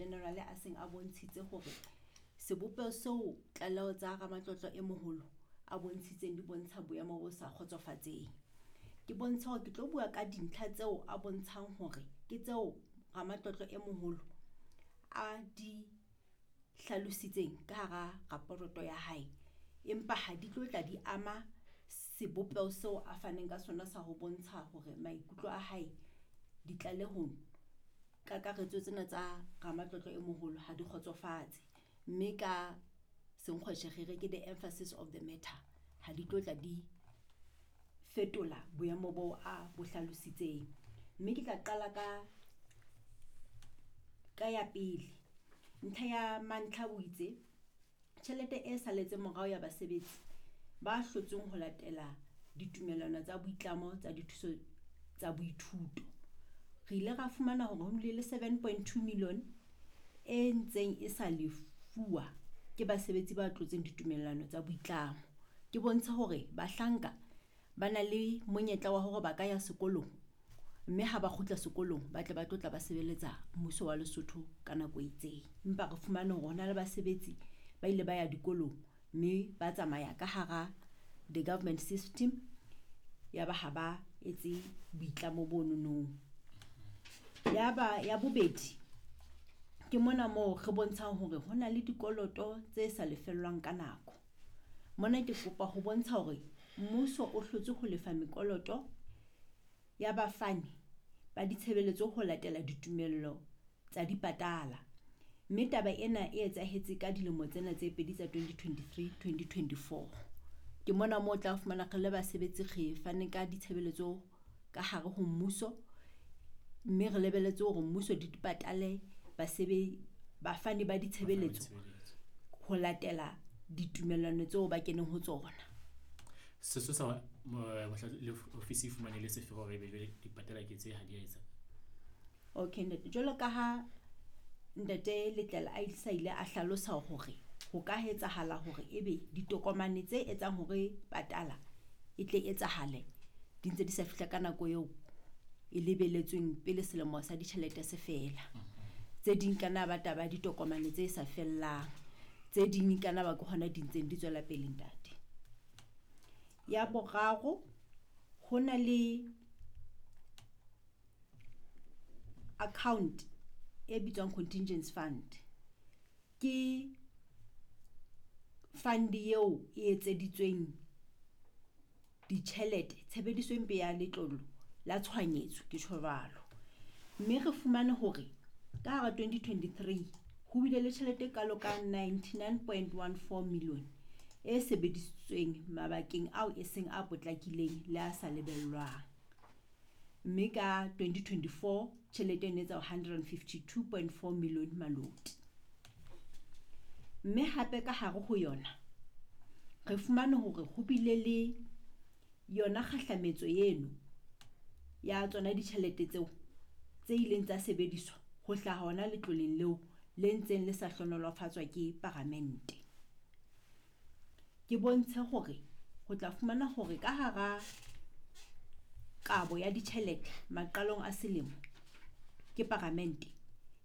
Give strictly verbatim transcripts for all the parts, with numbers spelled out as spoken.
General a seng a bontshitse hore sebopeho seo tlaleho tsa Ramatlotlo e moholo a bontshitseng di bontsha boemo bo sa kgotsofatseng. Ke bontsha hore ke tlo bua ka dintlha tseo a bontshang hore ke tseo Ramatlotlo e moholo a di hlalositseng ka hara raporoto ya hae, empa ha di tlo tla di ama sebopeho seo a faneng ka sona sa ho bontsha hore maikutlo a hae ditlalehong kakaretso tsena tsa Ramatlotlo e moholo ha di kgotsofatse, mme ka senkgweshe re re ke the emphasis of the matter ha di tlo tla di fetola boemo bo a bo hlalositseng. Mme ke tla qala ka ka ya pele. Ntlha ya mantlha o itse tjhelete e saletseng morao ya basebetsi ba hlotsweng ho latela ditumellano tsa boitlamo tsa dithuso tsa boithuto. Re ile ra fumana hore ho bile le seven point two million e ntseng e sa lefuwa ke basebetsi ba tlotseng ditumellano tsa boitlamo. Ke bontsha hore bahlanka ba na le monyetla wa hore ba ka ya sekolong, mme ha ba kgutla sekolong ba tle ba tlo tla ba sebeletsa mmuso wa Lesotho ka nako e itseng. Empa re fumane hore hona le basebetsi ba ile ba ya dikolong mme ba tsamaya ka hara the government system, ya ba ha ba etse boitlamo bo nonong. Ya ba ya bobedi ke mona moo re bontshang hore ho na le dikoloto tse sa lefellwang ka nako. Mona ke kopa ho bontsha hore mmuso o hlotse ho lefa mekoloto ya bafani ba ditshebeletso ho latela ditumello tsa dipatala, mme taba ena e etsahetse ka dilemo tsena tse pedi tsa twenty twenty-three twenty twenty-four. Ke mona moo o tla fumana re le basebetsi re fane ka ditshebeletso ka hare ho mmuso, mme re lebelletse hore mmuso di patale basebe bafani ba ditshebeletso ho latela ditumellano tseo ba keneng ho tsona. Sesosa le ofisi e fumane le sefe hore ebe jwale dipatala ke tse ha di a etsa? Okay ntate, jwalo ka ha ntate Letlela a sa ile a hlalosa hore ho ka etsahala hore ebe ditokomane tse etsang hore patala e tle etsahale di ntse di sa fihla ka nako eo e lebeletsweng pele selemo sa ditjhelete se fela. Tse ding kana ba taba ditokomane tse sa fellang, tse ding kana ba ke hona di ntseng di tswela pele ntate. Ya boraro, ho na le account e bitswang contingency fund. Ke fund eo e etseditsweng ditjhelete tshebediso e mpe ya letlolo la tshohanyetso, ke tjho jwalo. Mme re fumane hore ka hara twenty twenty-three ho bile le tjhelete e kalo ka ninety-nine point one four million e sebedisitsweng mabakeng ao e seng a potlakileng le a sa lebellwang. Mme ka twenty twenty-four tjhelete e ne etsa hundred and fifty-two point four million maloti. Mme hape ka hare ho yona re fumane hore ho bile le yona kgahlametso eno ya tsona ditjhelete tseo tse ileng tsa sebediswa ho hlaha hona letloleng leo le ntseng le sa hlohonolofatswa ke paramente. Ke bontshe hore ho tla fumana hore ka hara kabo ya ditjhelete maqalong a selemo ke paramente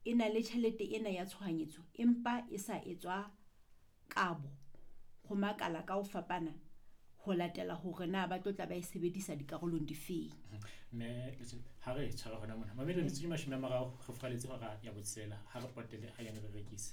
e na le tjhelete ena ya tshohanyetso, empa e sa etswa kabo ho makala ka ho fapana ho latela hore na ba tlo tla ba e sebedisa dikarolong difeng. Mme ha re tshwara hona mona mamelo metsotso e mashome a mararo re furaletse hora ya botshelela, ha re potele ha yane re rekise.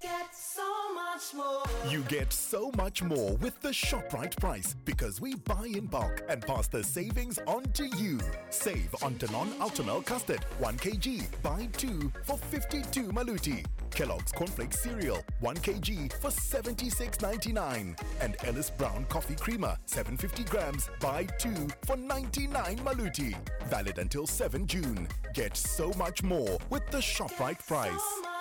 Get so much more. You get so much more with the ShopRite price because we buy in bulk and pass the savings on to you. Save on Danone Ultimel Custard one kilogram, buy two for fifty-two maluti. Kellogg's Cornflakes Cereal one kilogram for seventy-six ninety-nine. And Ellis Brown Coffee Creamer seven hundred fifty grams, buy two for ninety-nine maluti. Valid until seventh June. Get so much more with the ShopRite price. So